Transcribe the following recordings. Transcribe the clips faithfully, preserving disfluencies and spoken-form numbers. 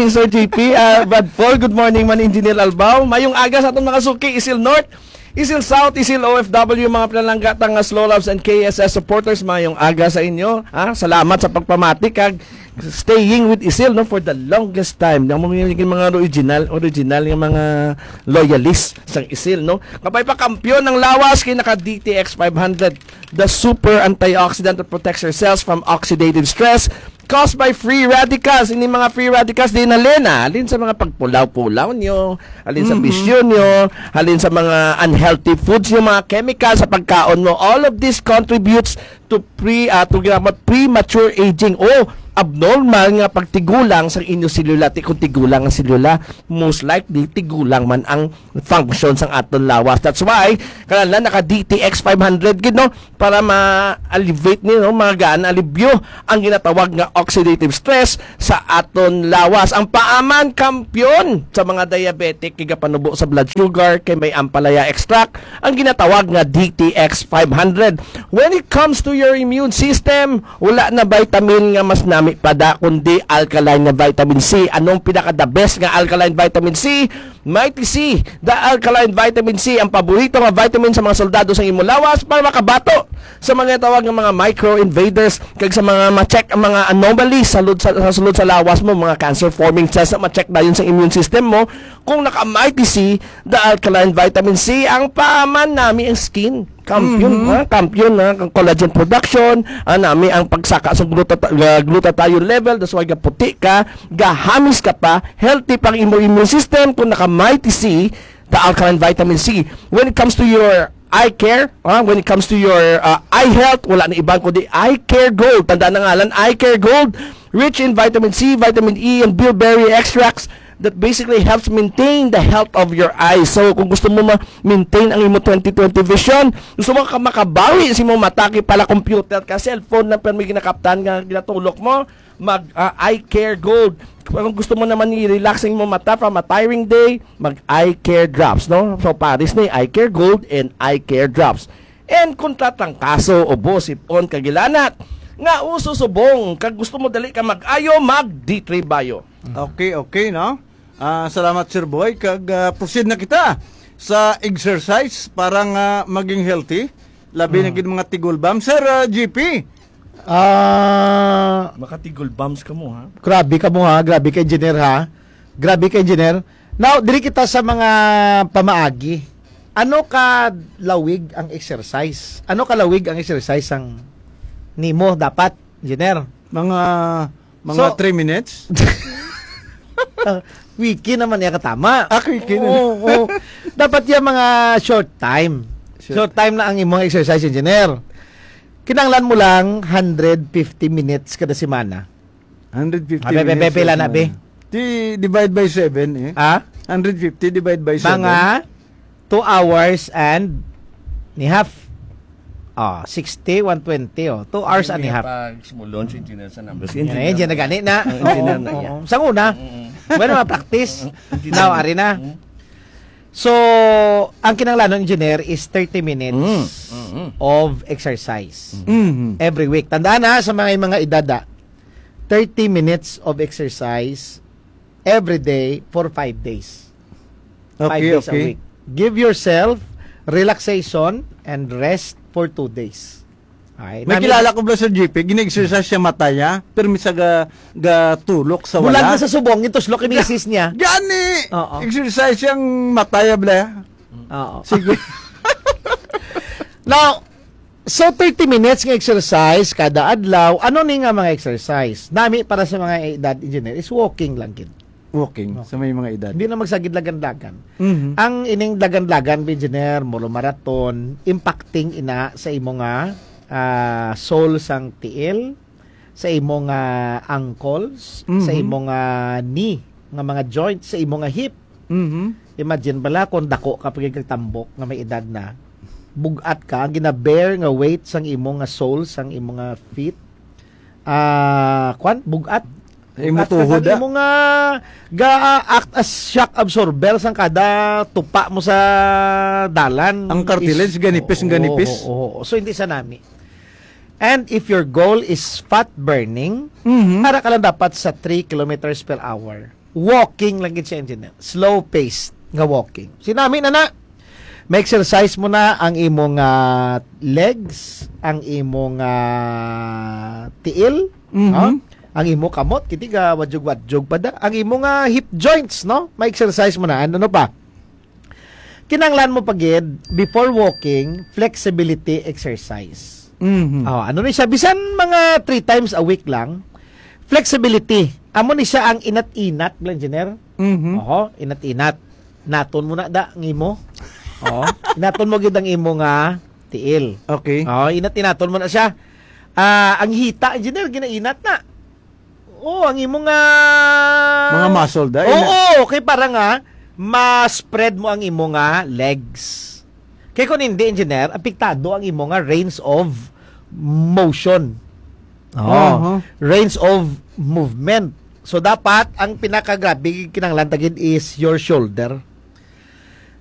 Sir G P, ah, Brad Paul, good morning man, Engineer Albao. Mayong aga sa atong mga suki, Isil North, Isil South, Isil O F W, mga pinalangga ta nga Slow Loves and K S S supporters. Mayong aga sa inyo. Ah, salamat sa pagpamati kag staying with Isil, no, for the longest time. Ang mga, mga original, original nga mga loyalist sang Isil, no. Kabay pa, kampiyon ang lawas kay naka D T X five hundred, the super antioxidant that protects your cells from oxidative stress caused by free radicals. Ini mga free radicals, di nalena. Halin sa mga pagpulaw-pulaw nyo, halin sa Mhm. bisyo nyo, halin sa mga unhealthy foods nyo, mga chemicals sa pagkaon mo. All of this contributes to pre, ah, to ginatawag premature aging o abnormal nga pagtigulang sa inyo selula. Ti-, kung tigulang ang selula, most likely tigulang man ang function sang aton lawas. That's why, kanala naka D T X five hundred gid, no? Para ma-alleviate ni, no? Magaan alibyo ang ginatawag nga oxidative stress sa aton lawas. Ang paaman, kampiyon sa mga diabetic, kay gapanubo sa blood sugar, kay may ampalaya extract, ang ginatawag nga D T X five hundred. When it comes to your immune system, wala na vitamin nga mas nami pa da, kundi alkaline nga vitamin C. Anong pinaka-the best nga alkaline vitamin C? Mighty C, the alkaline vitamin C, ang paborito nga vitamin sa mga soldado sa imong lawas para makabato sa mga tawag nga mga micro invaders kag sa mga ma-check ang mga anomalies sa lud-, sa, sa sulod sa lawas mo, mga cancer forming cells na ma-check dayon sa immune system mo. Kung naka-Mighty C, the alkaline vitamin C, ang paaman nami ang skin. Kampiyon, Mhm. ha? Kampiyon na ang collagen production, ah, nami ang pagsaka sa gluta-, uh, glutathione level, that's why gaputi ka, gahamis ka pa, healthy pang imo immune system kung naka Mighty C, the alkaline vitamin C. When it comes to your eye care, ah, when it comes to your, uh, eye health, wala na iban kundi Eye Care Gold. Tandaan na ngalan, Eye Care Gold, rich in vitamin C, vitamin E, and bilberry extracts that basically helps maintain the health of your eyes. So, kung gusto mo ma-maintain ang imo twenty twenty vision, gusto mo ka makabawi sa imong mata, kay pala computer ka, cellphone lang, pero may ginakaptan nga ginatulok mo, mag, ah, Eye Care Gold. Kung gusto mo naman i-relax ang imong mata from a tiring day, mag Eye Care Drops, no? So, pares ni Eye Care Gold and Eye Care Drops. And kung tatrangkaso, ubo, sipon, kag hilanat nga uso subong, kag gusto mo dali ka mag-ayo, mag D three Bio. Okay, okay, no? Ah, salamat, Sir Boy. Kag, ah, proceed na kita sa exercise para nga maging healthy. Labi na Mm. gid mga tigulbam. Sir, ah, G P. Ah, Makatigulbams ka mo, ha? Grabe ka mo, ha? Grabe ka, engineer, ha? Grabe ka, engineer. Now, diri kita sa mga pamaagi. Ano ka lawig ang exercise? Ano ka lawig ang exercise ang nimo dapat, engineer? Mga, mga So, three minutes? Ah, quickie naman niya katama. Ah, quickie na. Oo, oo. Dapat yung mga short time. Short. Short time na ang imong exercise, engineer. Kinahanglan mo lang hundred fifty minutes kada semana. Hundred fifty Abe, be, be, minutes pila na, be? Di, divide by seven, eh. Ah? Hundred fifty divide by seven. Mga two hours and ni half. Oh, sixty, one twenty, oh. Two hours and a half. Pag sumulon si engineer sa numbers. Yan, engineer yan, na. Gani na. Ang engineer Oo, na, oo. Sa una, Mm-mm. Bueno, ma-practice. Engineer. Now, ari na. Mm. So, ang kinahanglan ng engineer is thirty minutes Mm. Mm-mm. of exercise Mm-hmm. every week. Tandaan na, sa mga, mga edad, ah, thirty minutes of exercise every day for five days. Five Okay, days a okay. week. Give yourself relaxation and rest for two days. Ay, May nami- kilala ko ba sa G P, gina-exercise siya mataya, pero misa ga, ga tulok sa Bulag wala. Na sa subong, ito slok ni misis niya. Gani! Oo. Exercise siyang mataya, bla. Oo. Sige. Now, so thirty minutes nga exercise kada adlaw, ano ni nga mga exercise? Nami para sa mga edad, engineer, is walking lang gid. Walking Okay. sa may mga edad. Hindi na magsagid lagan-lagan. Mhm. Ang ining lagan-lagan, engineer, molo marathon, impacting ina sa imo nga, ah, sole sang tiil, sa imo nga ankles, sa Mhm. imo nga knee, nga mga joints, sa imo nga hip. Mhm. Imagine bala kung dako ka pa gid kag tambok nga may edad na, bugat ka, ang gina-bear nga weight sang imo nga sole, sang imo nga feet, ah, kwan, bugat. Imo Bugat ka tuhod, kag ah. imo nga ga-act as shock absorber sang kada tupa mo sa dalan. Ang cartilage, Is ganipis, oo, ganipis. oo, oo. So, hindi sa nami. And if your goal is fat burning, Mhm. para ka lang dapat sa three kilometers per hour. Walking lang gid siya, engineer. Slow pace nga walking. Sinami na na. May exercise mo na ang imong ah, legs, ang imong ah, tiil, Mhm. no? Ang imo kamot, kiti ga wadyog-wadyog pa da. Ang imo nga hip joints, no? May exercise mo na. Ano, ano pa? Kinanglan mo pa gid, before walking, flexibility exercise. Mhm. Oh, ano ni siya? Bisan mga three times a week lang, flexibility. Amo ni siya ang inat-inat, Bla Engineer. Mhm. Oho, inat-inat. Naton mo na da ang imo. Oh, inaton mo gid ang imo nga tiil. Okay. Oh, inat-inaton mo na siya. Ah, ang hita, engineer, ginainat na. Oh, ang imo nga Mga muscle, da, Oo, ina- okay, para nga ma-spread mo ang imo nga legs. Kay kung hindi, engineer, apektado ang imo nga range of motion. Oh, Aha. Range of movement. So dapat ang pinakagrabe kinahanglan ta gid is your shoulder.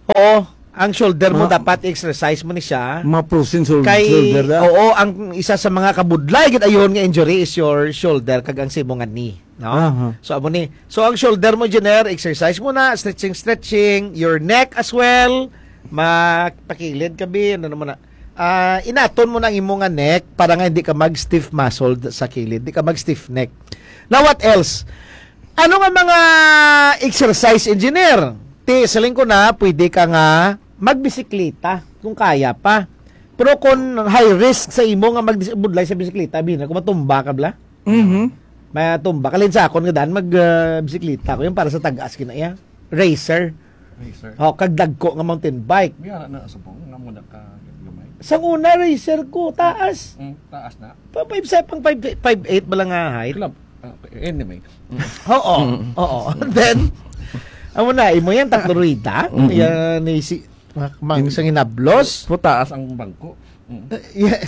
Oo, ang shoulder mo Ma- dapat exercise mo ni siya. Mga frozen shou- Kay shoulder na. Oo, ang isa sa mga kabudlay gid ayuhon nga injury is your shoulder kag ang simo nga knee, no? Aha. So amo ni. So ang shoulder mo, engineer, exercise mo na, stretching, stretching, your neck as well. Mapakilid ka, bi, ano naman na. Ah, inaton mo na ang imo nga neck para nga hindi ka mag stiff muscle sa kilid, hindi ka mag stiff neck. Now what else? Ano nga mga exercise, engineer? Ti, siling ko na, pwede ka nga magbisikleta kung kaya pa. Pero kung high risk sa imo nga magbudlay sa bisikleta, bina, kung matumba ka, bla? Mhm. Matumba ka. Linsa akon nga daan mag ah, bisikleta ko. Yung para sa tagas kinaya. Racer. Racer. Oh, kag dagko nga mountain bike. May ara na sa pong, nga muna ka gamay. Sang una, racer ko, taas. Mm, taas na. Pa five seven, five, five eight ba lang nga height? Club. Ah, okay. Anyway. Oo. Mm. Oo. Then, amo na, imo yan, tatlo rueda. Mm-mm. Yan, ni si, mang, mang, In- sang hinablos. Putaas ang bangko. Mm. Eh, yeah.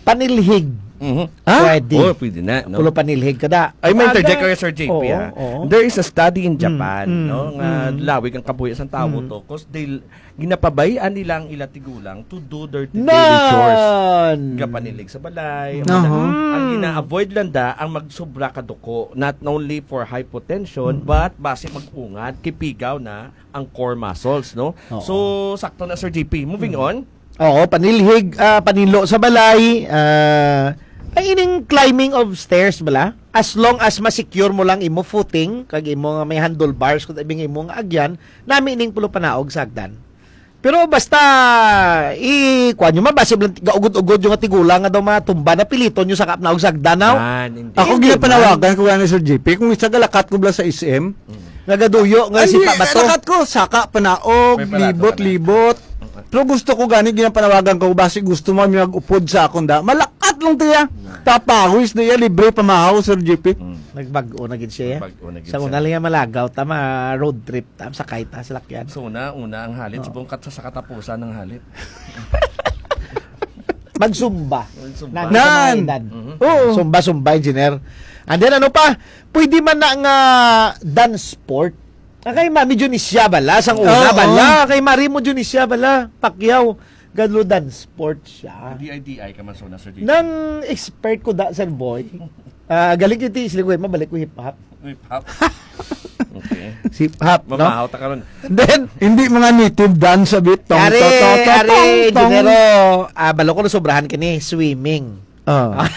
Panilhig. Mhm. Ah? Pwede. Oh, pwede na, no? Pulo panilhig ka da. Ay, may Aga. Interject ko, Sir J P, Oo, ha? Oo. There is a study in Mm, Japan, mm, no, nga mm. Lawig ang kabuhi sa tawo Mm. to, 'cause they, ginapabayaan nila ang ila tigulang to do their daily chores. Nan! Gapanilig sa balay, Aha. Ang gina-avoid lang da ang magsobra ka duko, not only for hypotension, Mm. but basi mag-ungad, kipigaw na ang core muscles, no? Oo. So, sakto na, Sir J P. Moving Mm. on. Oo, panilhig, ah, panilo sa balay, ah, ay ining climbing of stairs bala. As long as ma-secure mo lang imo footing, kag imo nga may handlebars, kung ibig imo nga agyan, nami ning pulo panaog sa hagdan. Pero basta, i-, kuwan nyo man, basi lang gaugod-ugod yung nga tigulang nga daw matumba, napiliton nyo sa kapanaog sa hagdan, no? Man, hindi. Ako Hindi, ginapanawagan ko nga ni Sir J P, kung isa galakat ko bala sa S M, Mm. Nagaduyo nga Ay, sipa di, ba to? Lakat ko, saka panaog, May palato libot, ka na. Libot. Pero gusto ko gani, ginapanawagan ko, basi gusto mo mag-upod sa akong da. Malakat lang tiya. Nah. Tapawis na iya, libre pamahaw, Sir J P. Mm. Nagbag-o na gid siya, ya. Nagbag-o na gid Sa siya. Una lang yan, malagaw, tama, road trip, tama, sakay ta, salakyan. So, una, una ang halit, Oo. Subong kat sa, sa katapusan ng halit. Magsumba. Magsumba. Nang sa mga Nan! Edad. Mhm. Oo. Sumba, sumba, engineer. And then, ano pa? Pwede man na nga dance sport. Ah, kay Mami Dionisia bala, sang una Oo. Bala. Kay Mari mo Dionisia bala, Pacquiao, Gadlo dance sport siya. D I D I ka man sa una, Sir J P. Nang expert ko da, Sir Boy. Ah, galing yung tiis, mabalik ko hip-hop. Hip-hop. Okay. Hip-hop, no? Mamahaw ta karon. Then, Hindi mga native dance a bit. Tong, Ari, to, to, to, ari, tong, tong. Dinero, ah, balo ko na sobrahan kini, swimming. Ah.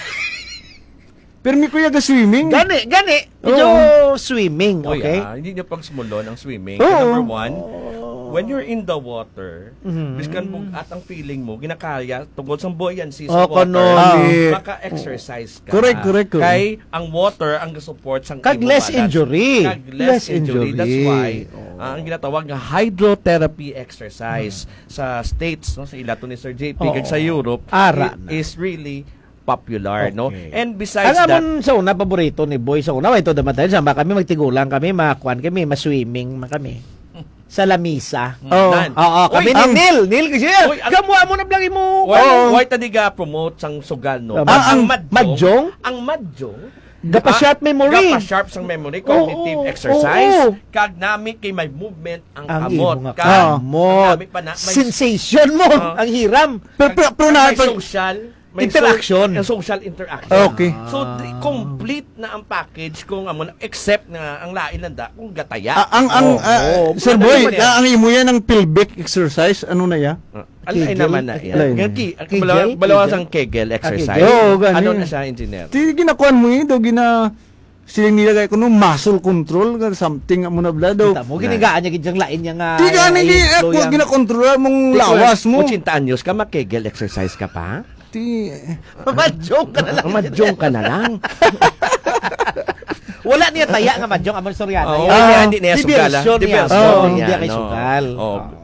Pero may kuya ga swimming. Gani, gani. Medyo Oo. Swimming, Oy, okay? Ah, hindi niya pagsumulon ang swimming. Oo. Number one, when you're in the water, Mhm. biskan bug-at ang feeling mo, ginakaya, tungkol sa buoyancy sa Oh, water, kanang Ah. maka-exercise ka. Correct, correct, correct. Kay ang water ang gasupport sang Kag imo less balance. Injury. Kag less Less injury. That's injury. Why, Oo. ah, ang ginatawag nga hydrotherapy exercise Mhm. sa States, no, sa ilato ni Sir J P, Oo. Kag sa Europe, Ara it na. Is really popular, no? Okay. And besides Ang that amon sa una, paborito ni Boy, sa una, ito naman tayo, sama kami, magtigulang kami, makuan kami, maswimming man kami. Sa lamisa. Mm, Oo. Nan. Oo, kami Uy, ni ang Neil. Neil, kasi Uy, ang Kamuha mo na blang imo. Why, Oo. Why ta di ga promote sang sugal, no? Tama. Ah, ang Ang madjong, madjong? Ang madjong, Gapa-sharp ah, memory. Gapa-sharp sang memory, Oo, cognitive oo, exercise, oo. Kag nami kay may movement ang Ang kamot. Imo nga Kag kamot. Ang nami pa na, may Sensation mo, Oo. Ang hiram. Pero, pero, pero Kag na, may pag social. may so- Interaction. Ang social interaction. Okay. So, di, complete na ang package kung amo na, except nga ang lain lang da, kung gataya. Ah, ang, ang, Oo. ah, Oo. Sir Ano Boy, naman yan? Ah, ang imo yan ang pelvic exercise, ano na ya? Ah, ang lain Kegel? naman na yan. Lain. Ang ki-, ang Kegel? balawa-, balawa Kegel? sang Kegel Ah, exercise. Kegel. Oo, gani. Ano na siya, engineer? Di ginakuan mo yun, do gina-, siling nila kay kuno muscle control, nga something mo na bala daw. Kita mo, ginigaan niya gid siyang lain niya nga Di gani, di, eh, flow kung yan. ginakontrola mong Di ko, lawas mo. Ochenta anyos ka, mag-Kegel exercise ka pa? Ti- Madyong ka na lang. Madyong ka na lang. Wala niya taya nga madyong, amon Soriano. Oo, Yan. hindi niya, hindi niya sugal, ah. Diversyon niya. Diversyon Oo, niya, hindi no. kay sugal. Oo. Oo.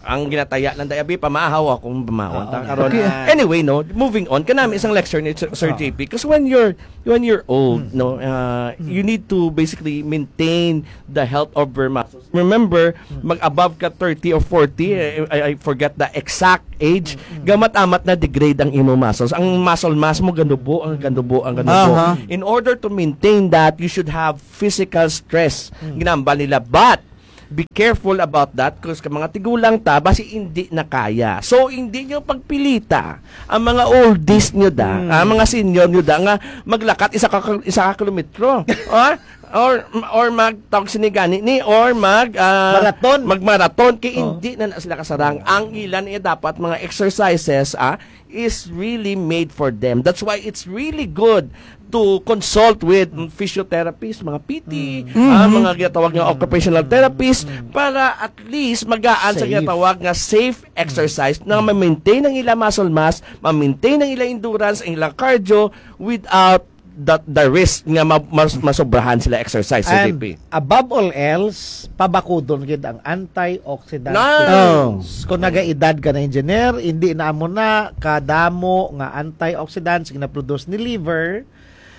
Ang ginataya lang, dai, abi, pamahaw akong pamahaw. Oo. Ta, karon. Okay. Anyway, no, moving on. Kanami isang lecture ni Sir, Sir Oo. J P, 'cause when you're, when you're old, Hmm. no, uh, Hmm. you need to basically maintain the health of your muscles. Remember, mag-above ka thirty or forty, eh, I, I forget the exact age, gamat-amat na degrade ang imo muscles. Ang muscle mass mo, ganubo, ang ganubo, ang ganubo. Aha. In order to maintain that, you should have physical stress. Ginambal nila. But, be careful about that, 'cause ka mga tigulang ta, basi hindi na kaya. So, hindi nyo pagpilita ang mga oldies nyo da, ang mga senior nyo da, nga maglakat isa ka, isa ka kilometro. Ah? Or, or mag, tawag sini gani ni, or mag, ah, Marathon. mag-marathon, kay Oh. hindi na, na sila kasarang. Ang ilan niya dapat mga exercises, ah, is really made for them. That's why it's really good to consult with, mm, physiotherapists, mga P T, Mm. ah, Mm-hmm. mga ginatawag nga occupational therapists, Mm. para at least magaan sa Safe. ginatawag nga safe exercise na Mm. ma-maintain ang ila muscle mass, ma-maintain ang ila endurance, ang ila cardio without the, the risk nga ma-, mas-, masobrahan sila exercise sa And J P. above all else, pabakudon gid ang antioxidant Nice! Oh. pills. Kung nagaedad ka na, engineer, hindi na amo na kadamo nga antioxidants ginaproduce ni liver,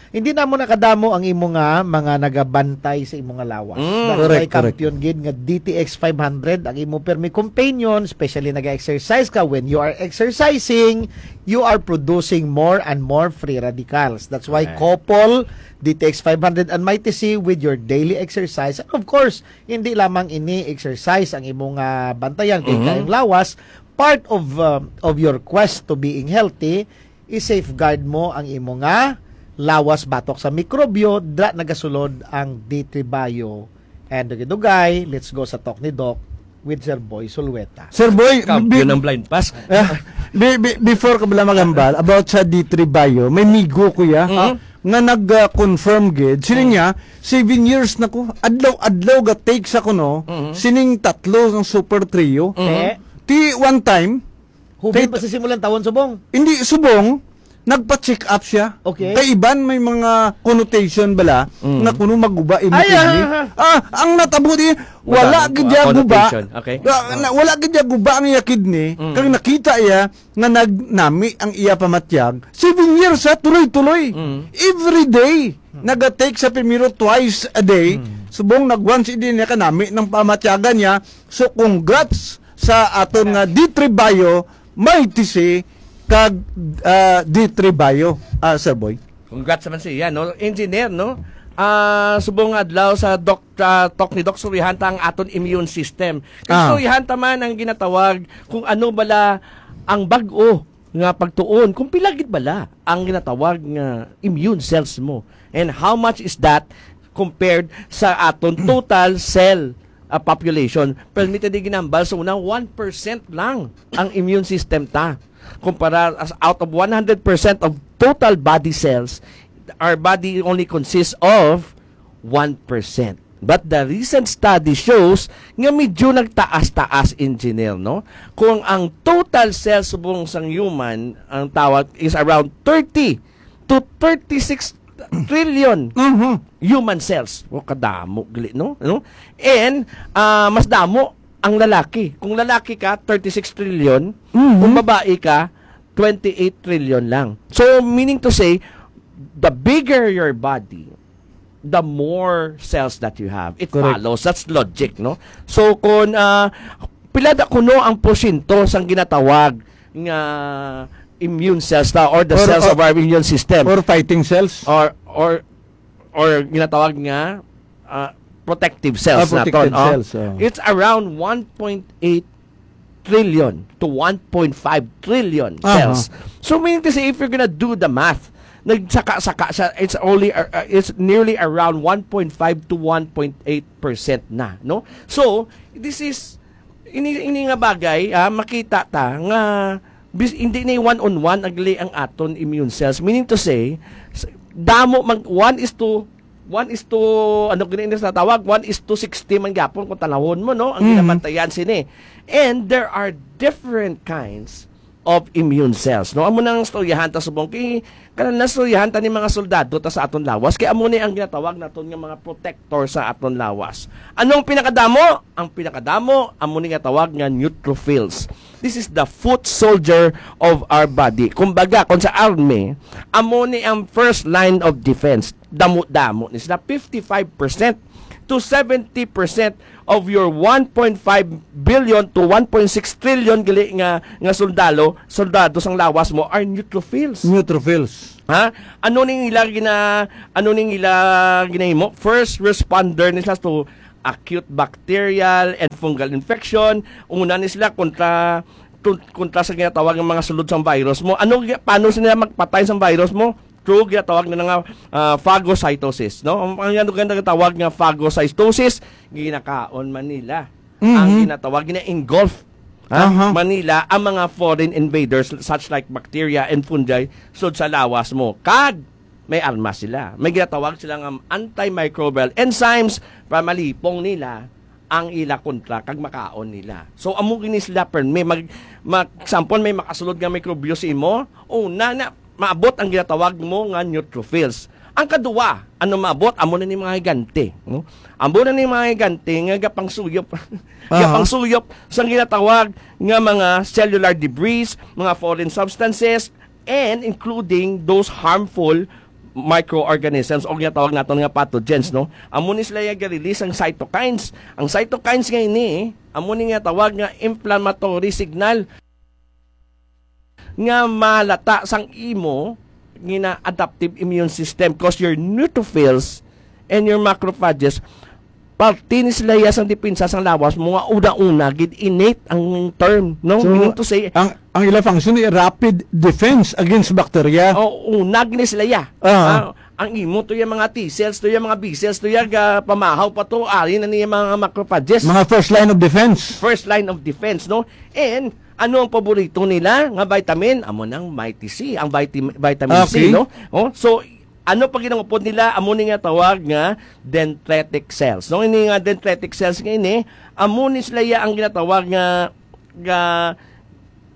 hindi na amo na kadamo ang imo nga mga nagabantay sa imo nga lawas. Mm. That's Correct, why correct. kampiyon gid nga D T X five hundred ang imo permi companion, especially nag-exercise ka. When you are exercising, you are producing more and more free radicals. That's why Correct. Copol, D T X five hundred, and Mighty C with your daily exercise. And of course, hindi lamang ini exercise ang imong, ah, bantayan kay Mhm. kayong lawas. Part of, ah, of your quest to being healthy, i-safeguard mo ang imo nga lawas batok sa mikrobyo, dra nagasulod ang D three Bio. And dugay-dugay, let's go sa Talk ni Doc with Sir Boy Sulweta. Sir Boy, Kampiyon bi-, ng blind pass. Ah, bi-, bi-, before ka bala magambal, about sa D three Bio, may migo ko ya, Mhm. nga nag-, ah, confirm gid. Sini Mhm. niya, seven years na ko, adlaw-adlaw ga take sa kuno, Mhm. sining tatlo ng Super Trio. Mhm. Eh? Ti one time, Hubin Ti- pa sa simulan tawon subong. Hindi, subong, nagpa-check up siya. Okay. Kay iban may mga connotation bala Mm. nga kuno maguba imo Ay, kidney. ah, ah, ah. Ah, ang natabo di, Wala, wala gid ah, ya guba. connotation. Okay. Wa-, na, wala gid ya guba ang iya kidney. Mm. Kag nakita iya nga nagnami ang iya pamatyag. Seven years, ha, tuloy-tuloy. Mm. Every day, Mm. nagatake sa primero twice a day. Mm. Subong nag-once a day niya kanami ng pamatyagan niya. So, congrats sa aton nga D three Bio, Mighty C, kag, ah, D three Bio, ah, Sir Boy. Congrats naman siya, no? Engineer, no? Ah, subong nga adlaw sa Doc, ah, Talk ni Doc, surihan ta ang aton immune system. Kag Ah. surihan ta man ang ginatawag kung ano bala ang bag-o nga pagtuon, kung pila gid bala ang ginatawag nga immune cells mo. And how much is that compared sa aton total cell, ah, population? Permi ta di ginambal sa una, one percent lang ang immune system ta. Kumpara as out of one hundred percent of total body cells, our body only consists of one percent. But the recent study shows nga medyo nagtaas-taas, engineer, no? Kung ang total cells subong sang human, ang tawag is around thirty to thirty-six trillion Mhm. human cells. O, kadamo, gali, no? No? And, ah, mas damo ang lalaki. Kung lalaki ka, thirty-six trillion. Mhm. Kung babae ka, twenty-eight trillion lang. So, meaning to say, the bigger your body, the more cells that you have. It Correct. follows. That's logic, no? So, kung, ah, pila da kuno ang porsyento sang ginatawag nga immune cells ta, or the Or, cells or, of our immune system? or fighting cells? Or, or, or ginatawag nga, ah, protective cells Ah, protective naton, oh. cells, oh. It's around one point eight trillion to one point five trillion Aha. cells. So, meaning to say, if you're gonna do the math, nagsaka-saka siya, it's only, uh, uh, it's nearly around one point five to one point eight percent na, no? So, this is, ini, ini nga bagay, ah, makita ta nga bis, hindi ni one on one ang, ang aton immune cells. Meaning to say, s-, damo mag, one is to, one is to, ano gani ini sa tawag? One is to sixty man gyapon kung tanawon mo, no? Ang Mhm. ginapatayan sini. And there are different kinds of immune cells, no? Amo nang istoryahan ta subong kay, kana na istoryahan ta ni mga soldado ta sa aton lawas, kay amo ni ang ginatawag naton nga mga protector sa aton lawas. Anong pinakadamo? Ang pinakadamo, amo ni nga tawag nga neutrophils. This is the foot soldier of our body. Kumbaga, kung sa army, amo ni ang first line of defense. Damo-damo ni sila, fifty-five percent to seventy percent of your one point five billion to one point six trillion gali nga, nga sundalo, soldado sang lawas mo are neutrophils. Neutrophils. Ha? Ano ning ila gina, ano ning ila ginahimo? First responder ni sila to acute bacterial and fungal infection. Una ni sila kontra, tun-, kontra sa ginatawag nga mga sulod sang virus mo. Ano gi-, paano sila magpatay sang virus mo? Through ginatawag na nga, ah, phagocytosis, no? Ang, ang ano ganda tawag nga phagocytosis, ginakaon man nila. Mhm. Ang ginatawag, gina-engulf, ha? Aha. Man nila ang mga foreign invaders such like bacteria and fungi sud sa lawas mo. Kag may armas sila. May ginatawag sila nga antimicrobial enzymes para malipong nila ang ila kontra kag makaon nila. So, amo gini sila permi. Mag, mag, example, may makasulod nga mikrobyo sa imo, una na, maabot ang ginatawag mo nga neutrophils. Ang kaduwa, ano maabot? Amo na ni mga higante, no? Amo na ni mga higante nga gapangsuyop. Aha. Gapangsuyop sa ginatawag nga mga cellular debris, mga foreign substances, and including those harmful microorganisms o ginatawag naton nga pathogens, no? Amo ni sila yung release ang cytokines. Ang cytokines nga ini, amo ni nga tawag nga inflammatory signal nga malata sang imo gina adaptive immune system, cause your neutrophils and your macrophages, parte ni sila iya sang depensa sang lawas mo nga una-una gid, innate ang term, no? So, meaning to say, ang, ang ila function ay rapid defense against bacteria. O, una gid ni sila iya. Ah. Ah, ang imo to yung mga T cells, to yung mga B cells, to yung, ah, pamahaw pa to, ari na niya mga macrophages. Mga first line of defense. First line of defense, no? And ano ang paborito nila nga vitamin? Amo nang Mighty C, ang vitamin, vitamin C, okay, no? Oh, so, ano pa ginangupod nila? Amo ni nga tawag nga dendritic cells. No, ini nga dendritic cells nga ini, amo ni sila ya ang ginatawag nga, nga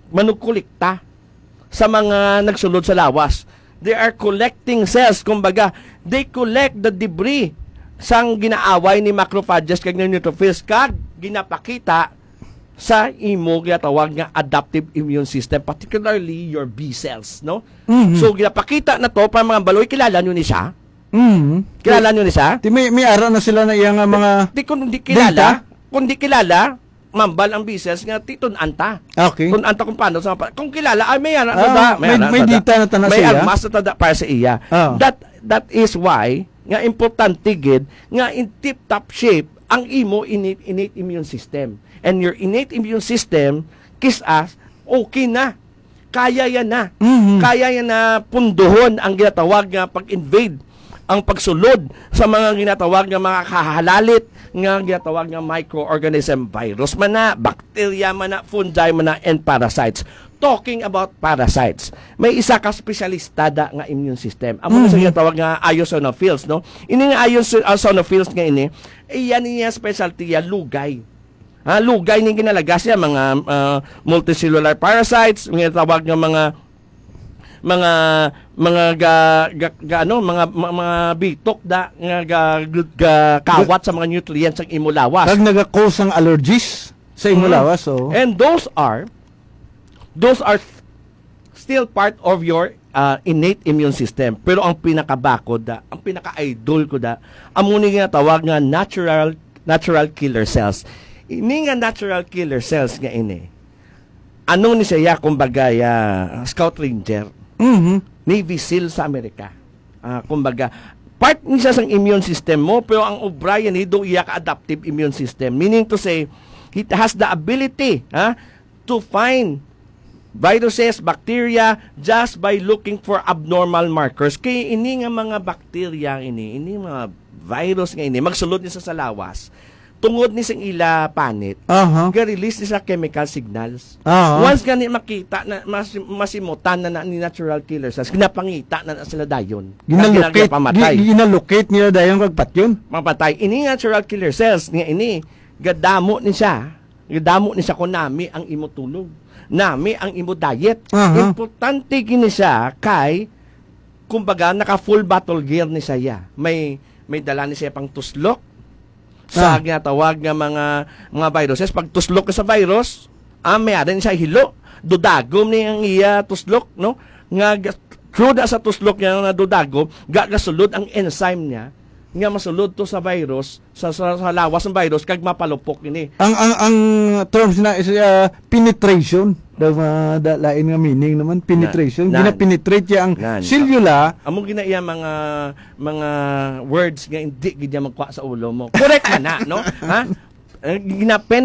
manugkolekta sa mga nagsulod sa lawas. They are collecting cells, kumbaga, they collect the debris sang ginaaway ni macrophages kag ni neutrophils kag ginapakita sa imo ginatawag nga adaptive immune system, particularly your B cells, no? Mhm. So, ginapakita na to para mga baloy, kilala nyo ni siya? Mhm. Kilala nyo ni siya? Ti may, may ara na sila na iya nga mga Di, kung di kilala, data? Kung di kilala, mambal ang B cells nga, "Ti, tun-an ta." Okay. Tun-an ta kung paano sa pa-, kung kilala, ay, may ara na Ah, ta da, may, may may ara na ta da. Data na ta na May sa iya? Armas na ta da para sa iya. Ah. That, that is why nga importante gid nga in tip-top shape ang imo innate, innate immune system. And your innate immune system, kis-a, okay na. Kaya yan na. Mhm. Kaya yan na punduhon ang ginatawag nga pag-invade, ang pagsulod sa mga ginatawag nga mga kahalalit nga ginatawag nga microorganism, virus man na, bacteria man na, fungi man na, and parasites. Talking about parasites, may isa ka espesyalista da nga immune system. Amo na sa Mhm. ginatawag nga eosinophils, no? Ini nga eosi-, eosinophils nga ini, iya niya specialty ya, lugay. Ha, lugay ning ginalagas niya, mga, ah, multicellular parasites, nga tawag nga mga, mga, mga ga, ga, ga, ano, mga, ma-, mga bitok da nga ga, ga, kawat sa mga nutrients ang imo lawas. Kag naga-cause ang allergies sa imo Mm. lawas, so. And those are, those are still part of your, ah, innate immune system. Pero ang pinakabakod da, ang pinaka-idol ko da, amo ni nga tawag nga natural, natural killer cells. Ini nga natural killer cells nga ini, ano ni siya, kumbaga, ya, Scout Ranger, Mhm. Navy SEAL sa Amerika. Ah, kumbaga, part ni siya sang immune system mo, pero ang obra yan, do iya ka adaptive immune system. Meaning to say, it has the ability, ha, to find viruses, bacteria, just by looking for abnormal markers. Kay ini nga mga bacteria ini, ini mga virus nga ini, magsulod ni sa, sa lawas. Tungod ni sing ila panit, Aha. ga-release ni sa chemical signals. Aha. Once nga ni makita na mas, masimutan na, na ni natural killer cells, ginapangita na, na sila dayon. Ginalocate, Ginag-, pamatay. gi- ginalocate nila dayon kag patyon. Mapatay. Ini natural killer cells nga ini, gadamo ni siya. Gadamo ni siya kung nami ang imo tulog. Nami ang imo diet. Aha. Importante gini siya kay, kumbaga, naka full battle gear ni siya. May, may dala ni siya pang tuslok sa Ah. ginatawag nga mga, mga viruses. Pag tuslok ka sa virus, ah, may arin siya hilo. Dudagom ni ang iya tuslok, no? Nga ga-, through da sa tuslok niya nga dudagom, ga-, gasulod ang enzyme niya, nga masulod to sa virus, sa, sa, sa lawas ng virus, kag mapalupok ini. Ang ang ang terms na is uh, penetration. The uh, the lain nga meaning naman, penetration. Nan. Gina-penetrate niya ang Nan. selula. Amo gina iya mga, mga words nga hindi gid niya magkuha sa ulo mo. Correct man na, no? Ha? Eh, gina-penetrate